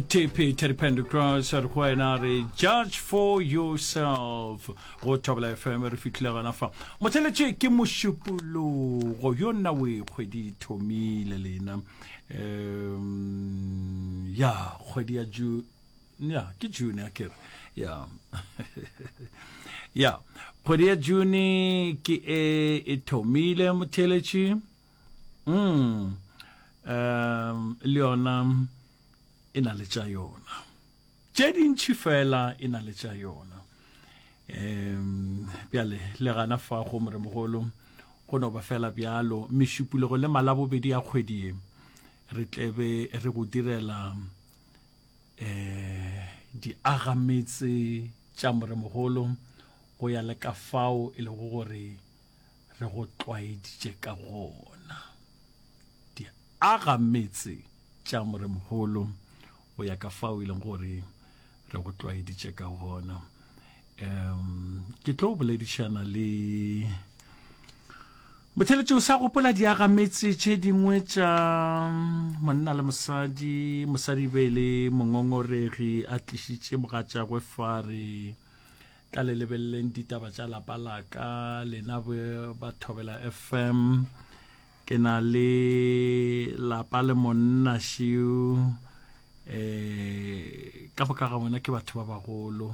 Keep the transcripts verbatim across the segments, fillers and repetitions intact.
T P Teddy Pendergrass a re go wena re "Judge for Yourself" go Thobela F M. Re fitlhile gona fa motheletše ke Mošupologo yo nna o e kgwedi thomile lena, um ya kgwedi ya June, ya ke June ya kere ya ya kgwedi ya June ke e e thomile motheletše. mm um le yona e na le tša yona tše dintšhi fela, e na le tša yona. um bjale le gana fa go moremogolo go no ba fela bjalo. Mešupologo le Malabobedi ya kgwedi ye re tlebe re go direla um diagametse tša moremogolo go ya le ka fao e lego gore re go tlwaeditše ka gona. Diagametse tša moremogolo go ya ka fao e leng gore re go tlwaeditše ka gona. um ke tlo boledišana le motheletše o sa gopola diagametse tše dingwe tša monna le mosadi. Mosadi be le mongongoregi a tlišitše mogatšagwe fare tla le lebeleleng ditaba tša lapa laka lena ba Thobela F M. Ke na le lapa le monna šiu, um ka boka ga bona ke batho ba bagolo,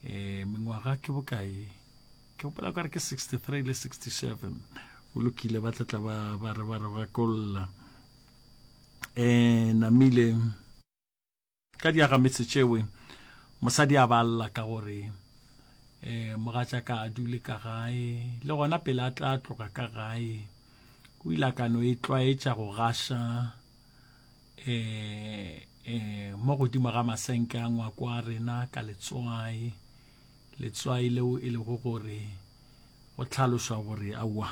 um mengwaga ke bokae? Ke gopola kare ke sixty-three le sixty-seven. Go lokile, ba tlatla ba ba re ba re ba kolla um namile ka diagametse tšewe. Mosadi a balla ka gore um mogatša ka a dule ka gae, le gona pele a tla tloga ka gae o ile a ka no e tlwaetša go gaša um um mo godimo ga masenke a ngwako a rena ka letswai, letswai leo e lego gore go tlhalošwa gore aowa.